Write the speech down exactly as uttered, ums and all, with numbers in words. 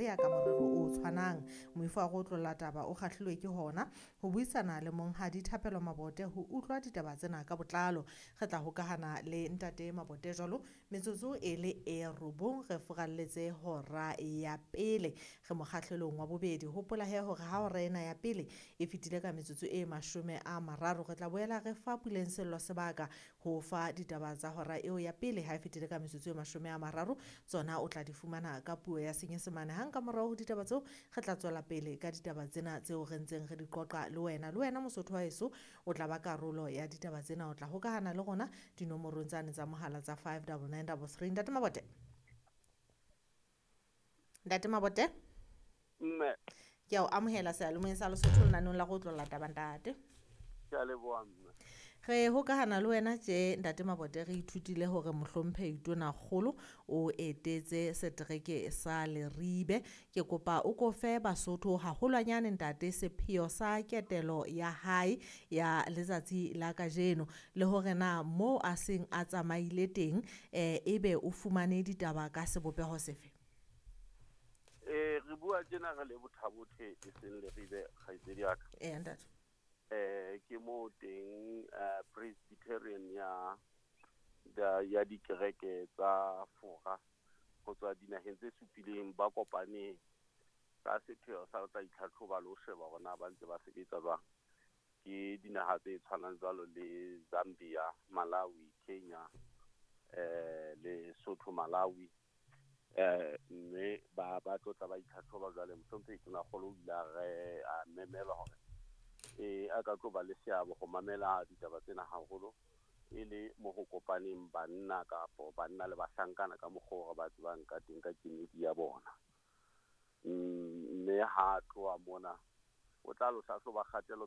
Pretoria ka morero o tshwanang. Moifo wa go otlolla taba o kgahlilwe ke hona ho buisana le monghadi Thapelo Mabote ho utlwa ditaba tsena ka botlalo. Re tla hokahana le ntate Mabote jwalo metsotso e le e robong re furalletse hora ya pele, re mokgahlelong wa bobedi. Hopola he hore ha hora ena ya pele e fetile ka metsotso e mashome a mararo, re tla boela re fa Puleng Sello sebaka ho fa ditaba tsa hora eo ya pele. Ha e fetile ka metsotso e mashome a mararo, tsona o tla di fumana ka puo ya Senyesemane. Hang ka morao ho ditaba tseo, re tla tswela pele ka ditaba tsena tseo re ntseng re di qoqa le wena. Le wena Mosotho wa heso o tla ba karolo ya ditaba tsena, o tla hokahana le rona dinomorong tsane tsa mohala tsa five double nine double three. Ntate Mabote, Ntate Mabote, Mme. Ke a o amohela seyalemoyeng sa Lesotho lenaneng la go otlolla taba, ntate. Ke a leboha, mme. Re hokahana le wena tje, ntate Mabote. Re ithutile hore mohlomphehi Tonakgolo o etetse setereke sa Leribe. Ke kopa o ko fe Basotho haholwanyane, ntate, sepheo sa ketelo ya hae ya letsatsi la kajeno, le hore na moo a seng a tsamaile teng eh ebe o fumane ditaba ka sebopeho sefe. Eh re bua tjena re le Botha-Bothe, e seng Leribe, kgaitsedi ya ka. Eya, ntate. Eh ke mo teng eh Presbyterian ya ya ya dikereke tsa Fora ho tswa dinaheng tse supileng ba kopane ka sepheo sa ho tla itlhatlhoba le ho sheba hore na ba ntse ba sebetsa jwang. Ke dinaha tse tshwanang jwalo le Zambia, Malawi, Kenya, eh Lesotho, Malawi, eh mme ba ba tlo tla ba itlhatlhoba. Jwale mohlomphehi Tonakgolo o ile a re a memelwa hore eh a ka tlo ba le seabo ho mamela ditaba tsena, haholo e le mo ho kopaneng banna kapo banna le bahlankana ka mokgwa o re ba tsebang ka teng ka kemedi ya bona. Mme ha tloha mona o tla lo hlahloba kgatelo.